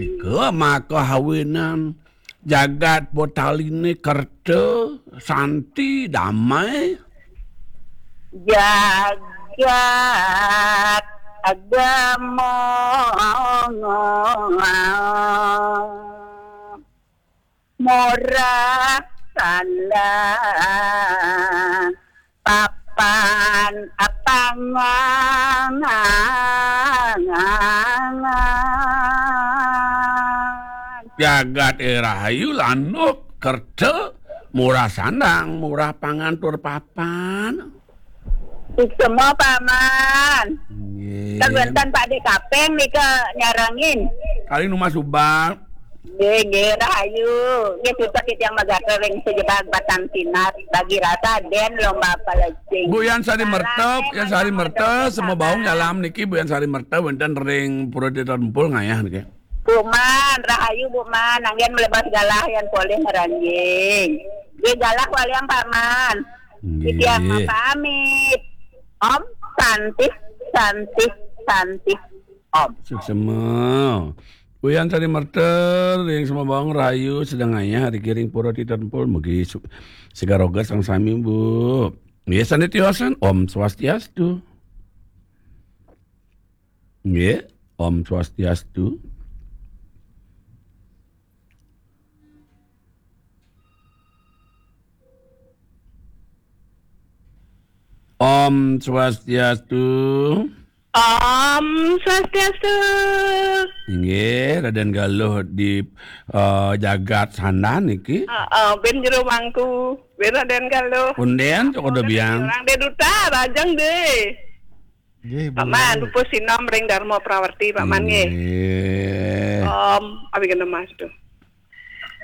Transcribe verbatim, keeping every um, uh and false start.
Ika maka awinan jagat Potaliné kerta, santi, damai. Jagat agama murah sandang, papan apangan. Jagat rahayu, lanuk kerta, murah sandang, murah pangan tur papan. Suksma, Paman. Nggih. Kan wénten Pakdé Kaping nika nyarengin. Kali nu masuba. Nggih, nggih, rahayu. Nggih, suksma titiang magatra ring sajebag batan sinar, bagi rasa dén lomba palecing. Bu Yan Sari Mertep, Yan Sari Mertep, semua baung nyalam niki, Bu Yan Sari Mertep wénten ring Pura Tirta Tempul ngayah niki. Bu Man, rahayu Bu Man, anggén mlebas galah yan polih ngranjing. Nggih galah waliang Paman. Nggih. Titiang mapamit. Om Santi, Santi, Santi, Om. Suksma. Bu Yan Sari Mertep ring semua baung rahayu sedeng ngayah ring Pura Tirta Tempul, mugi su-, segar roga sareng sami, Bu. Nggih, sandé tiosan. Om Swastiastu. Nggih, Om Swastiastu. Om Swastiastu. Om Swastiastu. Inggih, Radén Galuh di, eh, jagat Sandan niki. Heeh, bin jero mangku, bin Radén Galuh. Punden, cok udah biang. Orang dé duta, rajang dé. Nggih, Bu. Paman, pupus sinom ring Dharma Prawerti, Paman, nggih. Nggih. Om, abigana mastu.